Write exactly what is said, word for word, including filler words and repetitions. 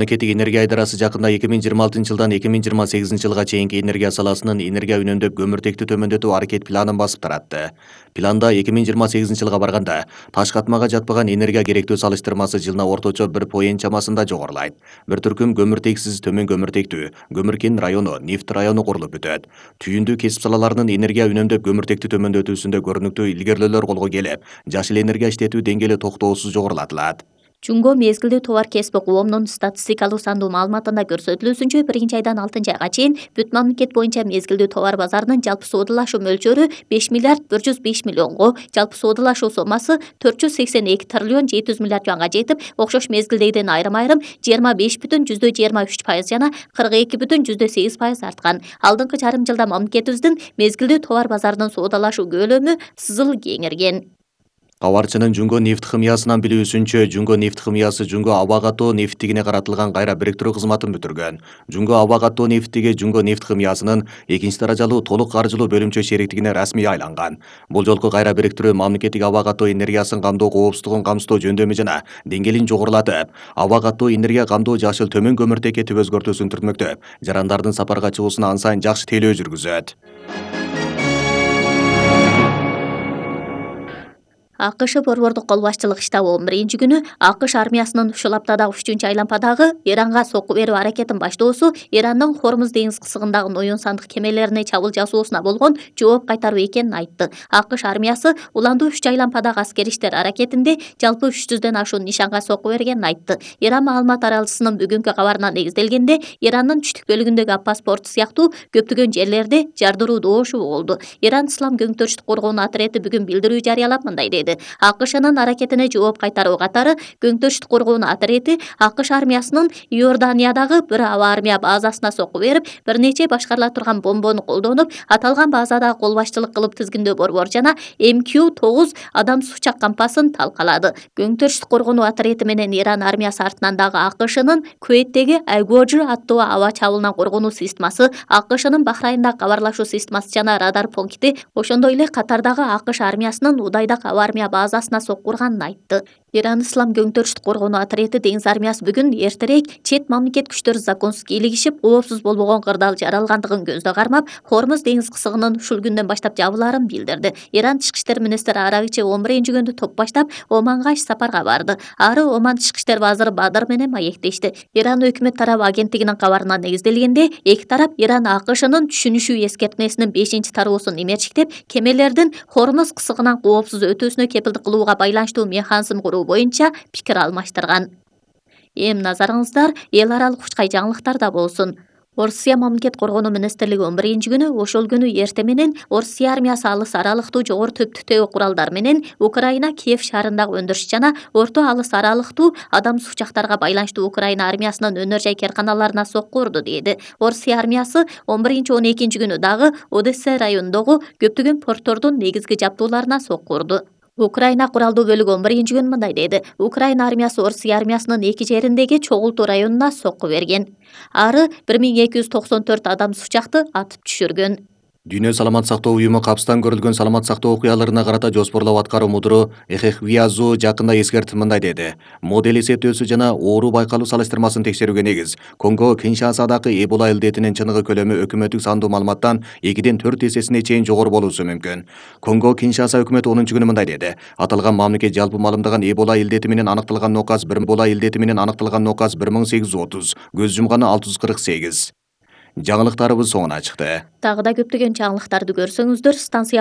Мамлекеттик энергия айдарасы жакында эки миң жыйырма алтынчы жылдан эки миң жыйырма сегизинчи жылга чейинки энергия саласынын энергия үнөмдөп көмүртекти төмөндөтүү аракет планын басып таратты. Планда эки миң жыйырма сегизинчи жылга барганда таш катмага жатпаган энергия керектөө салыштырмасы жылына орточо бир поент чамасында жогорулайт. Бир түркүм көмүртексиз төмөн көмүртектүү Көмүркен району, Нефт району курулуп бүтөт. Түйүндүү кесип салаларынын энергия үнөмдөп көмүртекти төмөндөтүүсүндө көрүнүктүү илгерилөөлөр колго келип, жашыл энергия иштетүү деңгээли токтоосуз жогорулатылат. Жумго мезгилдүү товар кесип коомунун статистикалык сандуу маалыматында көрсөтүлүүсүнчө биринчи айдан алтынчы айга чейин бүт мамлекет боюнча мезгилдүү товар базарынын жалпы соодалашуу мөлчөрү беш миллиард бир жүз беш миллионго, жалпы соодалашуу сомасы төрт жүз сексен эки триллион жети жүз миллиард жуанга жетип, окшош мезгилдегиден айрым-айрым жыйырма беш бүтүн жүздө жыйырма үч пайыз жана кырк эки бүтүн жүздө сегиз пайыз арткан. Алдыңкы жарым жылда мамлекетибиздин мезгилдүү товар базарынын соодалашуу көлөмү сызыл кеңирген. Кабарчынын Жумго нефт химиясынан билүүсүнчө, Жумго нефт химиясы Жумго аба катоо нефтигине каратылган кайра бириктирүү кызматын бүтүргөн. Жумго аба катоо нефтиги Жумго нефт химиясынын экинчи даражалуу толук каржылуу бөлүмчө шериктигине расмий айланган. Бул жолку кайра бириктирүү мамлекеттик аба катоо энергиясын камдоо коопсуздугун камсыздоо жөндөмү жана деңгээлин жогорулатып, аба катоо энергия камдоо жашыл төмөн көмүртекке түп өзгөртүүсүн түртмөктөп, жарандардын сапарга чыгуусуна ан сайын жакшы тейлөө жүргүзөт. АКШ борбордук кол башчылык штабы он биринчи күнү АКШ армиясынын ушул аптадагы үчүнчү айлампадагы Иранга сокку берүү аракетин баштоосу Ирандын Хормуз деңиз кысыгындагы ноюн сандык кемелерине чабуул жасоосуна болгон жооп кайтаруу экенин айтты. АКШ армиясы уландуу үч айлампадагы аскерий иштер аракетинде жалпы үч жүздөн ашуун нишанга сокку бергенин айтты. Иран маалымат аралчысынын бүгүнкү кабарына негизделгенде, Ирандын түштүк бөлүгүндөгү Аппас порту сыяктуу көптөгөн жерлерде жардыруу доошу болду. Иран Ислам көңтөрүштүк коргоонуу отряды бүгүн билдирүү жарыялап мындай деди: АКШнын аракетине жооп кайтаруу катары көңтөрүштүк коргоонуу отряды АКШ армиясынын Иорданиядагы бир аба армия базасына сокку берип, бир нече башкарыла турган бомбону колдонуп, аталган базадагы кол башчылык кылып тизгиндөө борбор жана эм кью тогуз адамсыз учак кампасын талкалады. Көңтөрүштүк коргоонуу отряды менен Иран армиясы артынан дагы АКШнын Куэйттеги Айгоджи аттуу аба чабуулунан коргонуу системасы, АКШнын Бахрайындагы кабарлашуу системасы жана радар пункти, ошондой эле катардагы АКШ армиясынын Удайдагы аба армия базасына сокку урганын айтты. Иран Ислам көңтөрүштүк коргоонуу отряды деңиз армиясы бүгүн эртерээк чет мамлекет күчтөрү законсуз кийлигишип, коопсуз болбогон кырдаал жаралгандыгын көздө кармап, Хормуз деңиз кысыгынын ушул күндөн баштап жабылаарын билдирди. Иран тышкы иштер министри Арагичи он биринчи күндү топ баштап Оманга иш сапарга барды. Ары Оман тышкы иштер базыры Бадыр менен маектешти. Иран өкмөт тарабы агенттигинин кабарына негизделгенде, эки тарап Иран АКШнын түшүнүшүү эскертмесинин бешинчи тароосун имерчиктеп, кемелердин Хормуз кысыгынан коопсуз өтүүсүнө кепилдик кылууга байланыштуу механизм куруу боюнча пикир алмаштырган. Эми назарыңыздар эл аралык учкай жаңылыктарда болсун. Орусия мамлекет коргонуу министрлиги он биринчи күнү ошол күнү эрте менен Орусия армиясы алыс аралыктуу жогору төптүктөгү куралдар менен Украина Киев шаарындагы өндүрүш жана орто алыс аралыктуу адамсыз учактарга байланыштуу Украина армиясынын өнөр жай керканаларына сокку урду деди. Орусия армиясы он биринчи он экинчи күнү дагы Одесса районундагы көптөгөн порттордун негизги жабдууларына сокку урду. Украина куралдуу бөлүгү он биринчи күнү мындай деди: Украина армиясы Орусия армиясынын эки жериндеги чогултуу районуна сокку берген. Ары бир миң эки жүз токсон төрт адамсыз учакты атып түшүргөн. Дүйнө саламат сактоо уюму капстан көрүлгөн саламат сактоо окуяларына карата жоспорлоп аткаруу мудуру Эхехвиазу жакында эскертип мындай деди: Модель эсептөөсү жана оору байкалуу салыштырмасын текшерүүгө негиз Конго Киншасадагы Эбола илдетинин чыныгы көлөмү өкмөттүк сандуу маалыматтан экиден төрт эсесине чейин жогору болуусу мүмкүн. Конго Киншаса өкмөтү онунчу күнү мындай деди: Аталган мамлекет жалпы маалымдаган Эбола илдети менен аныкталган нокас бир Эбола илдети менен аныкталган нокас бир миң сегиз жүз отуз, көз жумганы алты жүз кырк сегиз. Жаңылыктарыбыз соңуна чыкты. Дагы да көптөгөн жаңылыктарды көрсөңүздөр станция